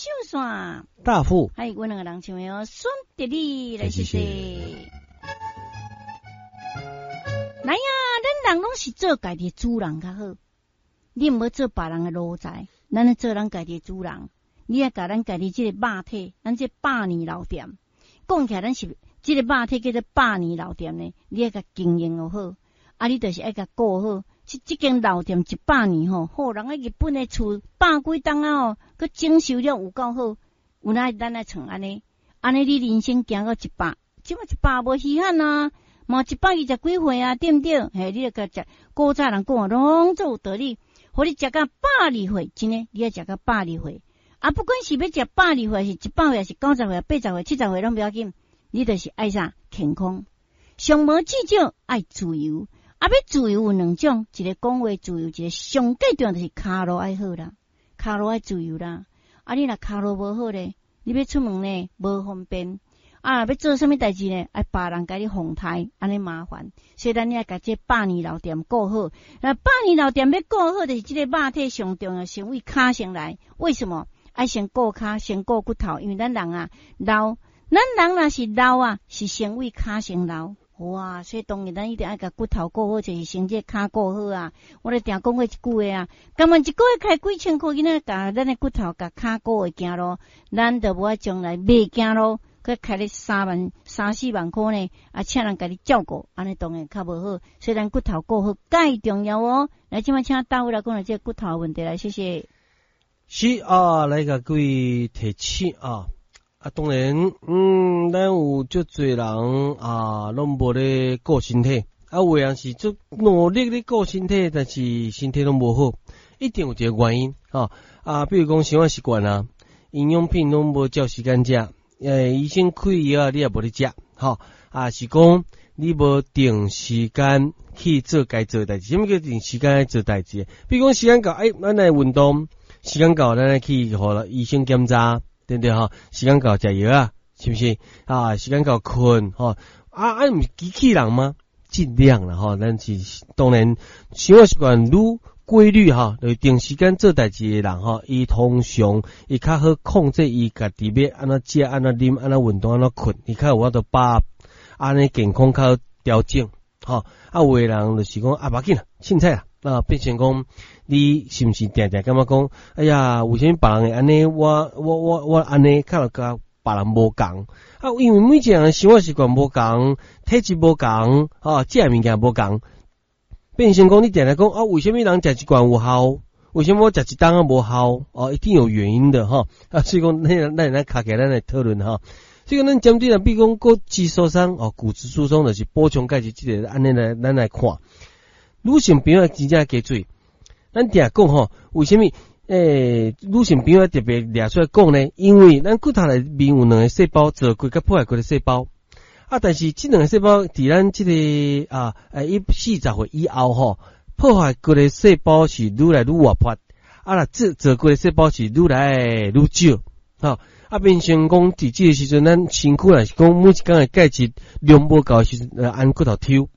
秀山，大富，還有阮兩個人唱的哦，孫德你來謝謝。來啊，咱人攏是做家己的主人較好，你毋好做別人的奴才，咱來做咱家己的主人。你愛共咱家己這個肉體，咱這百年老店，講起來咱是這個肉體叫做百年老店呢，你愛共經營好，啊，你就是愛共顧好。這間老店100年吼，好人喺日本的厝百幾冬啊吼，閣整修了有夠好，有哪咱來創按呢？按呢你人生行到一百，這馬一百無稀罕啊，嘛120幾歲啊，對毋對？嘿，你著共食古早人講攏總有道理，予你食到120歲，真的，你愛食到百二歲。啊，不管是欲食百二歲，是100歲，是90歲、80歲、70歲，攏無要緊，你就是愛啥健康，上無至少愛自由。啊，欲自由有兩種，一個講話自由，一個上蓋重要就是跤路愛好啦，跤路愛自由啦。啊，你若跤路無好咧，你欲出門呢無方便。啊，欲做啥物代誌呢？愛別人共你奉刣，按呢麻煩。所以咱愛共這百年老店顧好。那百年老店欲顧好，就是這個肉體上重要，先為跤先來。為什麼？愛先顧跤，先顧骨頭，因為咱人啊老，咱人若是老啊，是先為跤先老。哇！所以當然咱一定愛共骨頭顧好，就是先這跤顧好啊。我咧定講過一句話啊，敢問一個月開幾千箍，囡仔共咱的骨頭共跤顧會行路，咱就無愛將來袂行路，閣開咧3萬、3、4萬箍呢，啊，請人共你照顧，按呢當然較無好。所以咱骨頭顧好蓋重要哦。來，這擺請大偉來講下這個骨頭問題來，謝謝。是啊，來共各位提醒啊。啊，當然，咱有足濟人啊，攏無咧顧身體，啊，有的人是足努力咧顧身體，但是身體攏無好，一定有一個原因，吼啊，比如講生活習慣啊，營養品攏無照時間食，醫生開藥你也無咧食，吼啊，是講你無定時間去做該做代誌。啥物叫定時間去做代誌？比如講時間到，欸，咱來運動，時間到，咱來去予醫生檢查。對毋對吼？時間到食藥啊，是毋是？啊，時間到睏吼。啊啊，毋是機器人嗎？盡量啦吼，咱是當然生活習慣愈規律吼，就是定時間做代誌的人吼，伊通常伊較好控制伊家己欲按怎食、按怎啉、按怎運動、按怎睏，伊較有法度把按呢健康較好調整吼。啊，有的人就是講啊，無要緊啦，凊彩啦。啊，變成講你是毋是定定感覺講，哎呀，為啥物別人會按呢？我按呢，較共別人無仝啊？因為每一個人生活習慣無仝，體質無仝，吼，食的物件無仝，變成講你定定講啊，為啥物人食一罐有效？為啥物我食一冬仔無效？哦，一定有原因的吼。啊，所以講，咱咱卡起來，咱來討論吼。所以講，咱針對啊，比如講骨質疏鬆哦，骨質疏鬆就是補充鈣質，這個按呢來，咱來看。女性朋友真正加注意，咱定講吼，為啥物？女性朋友特別掠出來講呢？因為咱骨頭內面有兩個細胞，造骨佮破壞骨的細胞。啊，但是這兩個細胞佇咱這個啊，40歲以後吼，破壞骨的細胞是愈來愈活潑，啊，若造骨的細胞是愈來愈少，吼。啊，變成講佇這個時陣，咱身軀若是講每一工的鈣質量無夠的時陣，按骨頭抽。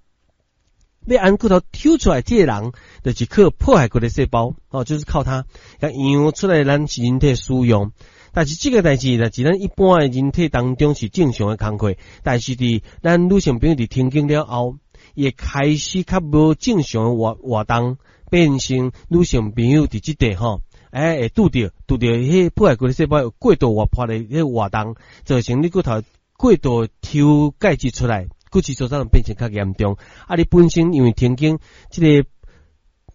欲按骨頭抽出來，這個人就是靠破壞骨的細胞，哦，就是靠它，養出來咱身體使用。但是這個代誌，若是咱一般的人體當中是正常的工課，但是佇咱女性朋友佇停經了後，伊會開始較無正常的活動，變成女性朋友佇這塊吼，欸，會拄著彼破壞骨的細胞有過度活潑的彼活動，造成你骨頭過度抽鈣質出來。骨質疏鬆變成較嚴重，啊！你本身因為停經，這個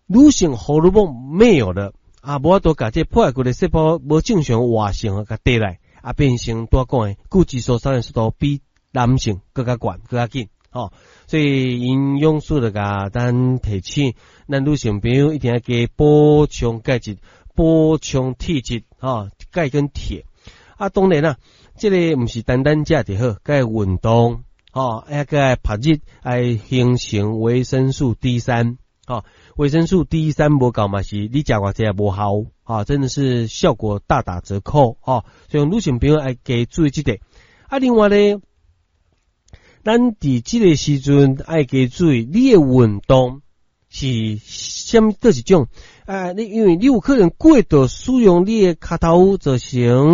女性荷爾蒙沒有了，啊，無法度共這破壞骨的細胞無正常活性共帶來，啊，變成拄仔講的骨質疏鬆的速度比男性閣較懸、閣較緊，吼。所以營養師就共咱提醒，咱女性朋友一定要加補充鈣質、補充鐵質，吼，鈣跟鐵。啊，當然啦，這個毋是單單食就好，閣愛運動。吼，抑閣愛曝日，愛形成維生素 D 三，吼，維生素 D 三無夠嘛是你食偌濟也無效，吼，真的是效果大打折扣，吼，所以女性朋友愛加注意這個。啊，另外咧，咱佇這個時陣愛加注意，你的運動是啥物？佗一種？啊，你因為你有可能過度使用你的跤頭，造成。